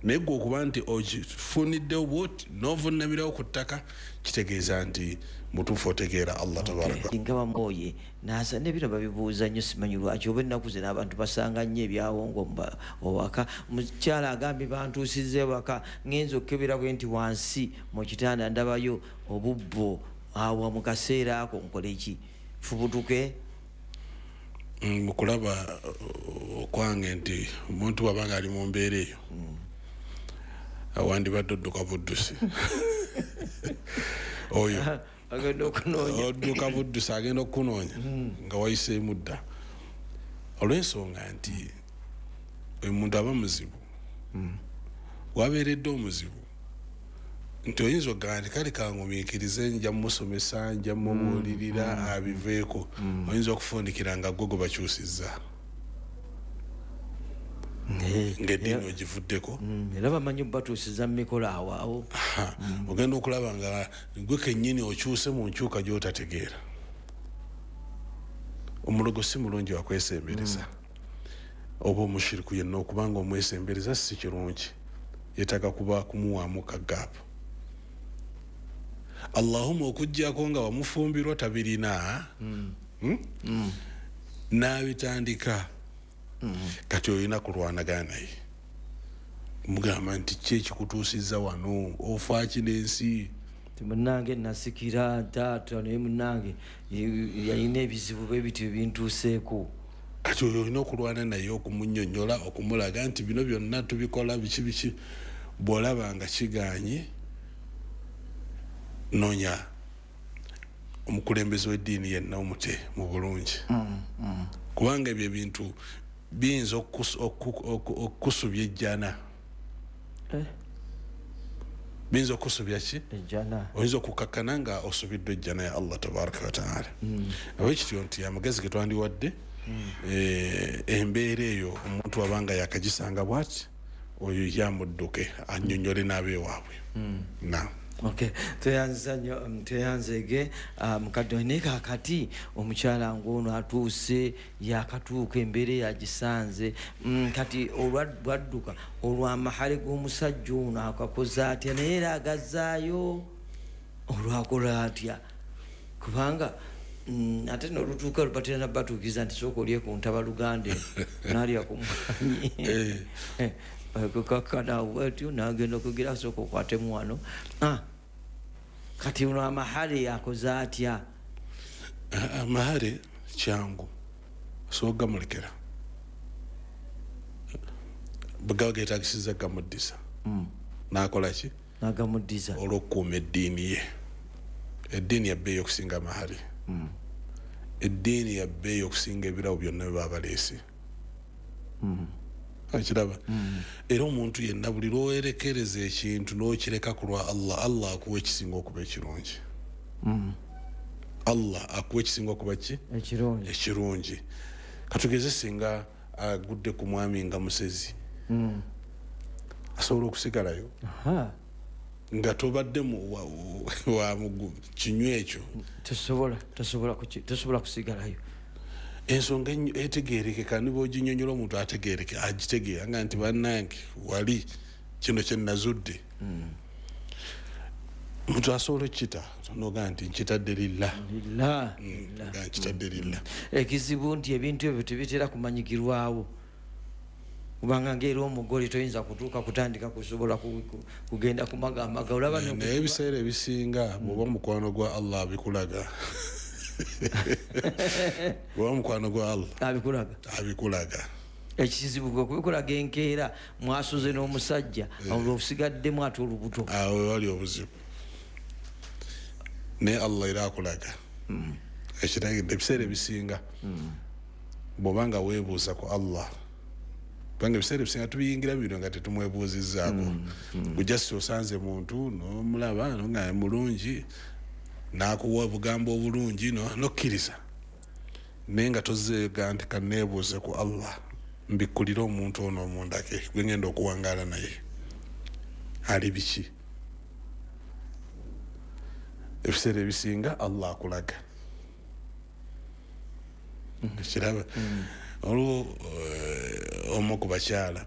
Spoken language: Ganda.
Naye gwe okuba nti okifuniddewo bwoti n'ovunnamirawo ku ttaka, kitegeeza nti mutuufu otegeera Allah tabaraka. Nga bamwoye nasa nebino babibuuza nnyo, simanyi lwaki oba ennaku zino abantu basanga nnyo ebyawongo owaka. Mukyala agambye bantuusizza ewaka, ngenza okukebera bwe nti wansi mu kitanda ndabayo obubbo, awo mu kaseera ako nkole ki? Fubutuke? Mukulaba okwange nti omuntu bw'abanga ali mu mbeera eyo awandibadde odduka buddusi oyo agenda okunoonya, odduka buddusi agenda okukunoonya nga wayiseemu dda, olw'ensonga nti omuntu aba muzibu, wabeeredde omuzibu nti oyinza okugamba nti kale kangumiikirize, nja mumusomesa, nja mubuulirira abiveeko. Oyinza okufundikira nga gwe gwe bakyusizza, ng'eddiini ogivuddeko. Era bamanyi batuusiza mu mikolo awo awo. Ogenda okulaba nga gwe kennyini okyuse mu nkyuka gy'otategeera. Omulogo si mulungi wakwesembereza, oba omushiriku yenna okubanga omwesembereza si kirungi, yeetaaga kuba kumuwaamu kagaapu. Allahumma okuggyako nga wamufumbirwa tabirina n'abitandika, kati olina kulwanagana naye, mugamba nti ki ekikutuusizza wano, ofaaki n'ensi? Munnange nasikira taata, naye munnange yalina ebizibu bwe bityo bintuuseeko. Kati oyo olina okulwana naye, okumunnyonnyola, okumulaga nti bino byonna tubikola biki biki. Bw'olaba nga kiganye, noonya omukulembeze w'eddiini yenna omute mu bulungi, kubanga ebyo ebintu biyinza okukusubya ejjana. Biyinza okukusubya ki? Ejjana. Oyinza okukakkana nga osubiddwa ejjana ya Allah tabaraka wataala. Abekityo nti amagezi ge twandiwadde, embeera eyo omuntu wabanga yakagisanga bwati, oyo yamudduke annyonnyole n'abeewaabwe. Na Okay, tweyanziza nnyo, tweyanzeege mukadde. Naye kakati omukyala ng'ono atuuse, yakatuuka, embeera eyagisanze, kati olwadduka olw'amahale g'omusajja ono akakoze atya? Naye era agazzaayo olwakola atya? Kubanga ate nolutuuka lubatera nabatuukiza nti sooka olye ku ntabaluganda nalya ku mwanyi, kukakkana bwetyo nagenda okugira sooka okwatemu wano. Kati ono amahale akoze atya? Amahale kyangu, osobola gamulekera bwegaba getagisiza gamuddisa, nakola ki? Nagamuddiza. Olw'okukuuma eddiini ye. Eddiini yabbeeyi okusinga amahale, eddiini yabbeeyi okusinga ebirabo byonna bye baba baleese. Okiraba? Era omuntu yenna buli lwowerekereza ekintu n'okireka ku lwa Allah, Allah akuwa ekisinga okuba ekirungi. Allah akuwa ekisinga okuba ki? Ekirungi. Ekirungi. Katugeze singa agudde ku mwami nga musezi, asobola okusigalayo nga tobadde wa kinywa ekyo? Tosobola kusigalayo. Ensonga etegeerekeka niba oginyonyola omuntu ategeereke, agitegeera nga nti bannange wali kino kye nazudde. Omuntu asobola okukita nogaa nti nkitadde lillah. Lillah. Nga nkitadde lillah. Ekizibu nti ebintu ebyo tebitera kumanyikirwawo, kubanga ngaera omugole toyinza kutuuka kutandika kusobola kugenda kumagamaga olaba. Naye ebiseera ebisinga bw'oba mukwano gwa Allah abikulaga, bw'oba mukwano gwa Allah abikulaga. Abikulaga. Ekizibu kwe kubikulaga enkeera mwasuze n'omusajja, olwo osigaddemu ate olubuto. Awo wali obuzibu, naye Allah era akulaga ekiragidde. Ebiseera ebisinga bw'oba nga weebuuza ku Allah, kubanga ebiseera ebisinga tubiyingira bino nga tetumwebuuzizzaako, gujasi osanze muntu n'omulaba nga mulungi, n'akuwa obugambo obulungi, nokkiriza, naye nga tozeega nti kaneebuuze ku Allah mbikkulire omuntu ono omundake gwe ngenda okuwangaala naye ali biki. Ebiseera ebisinga Allah akulaga. Kiraba, olwo omu ku bakyala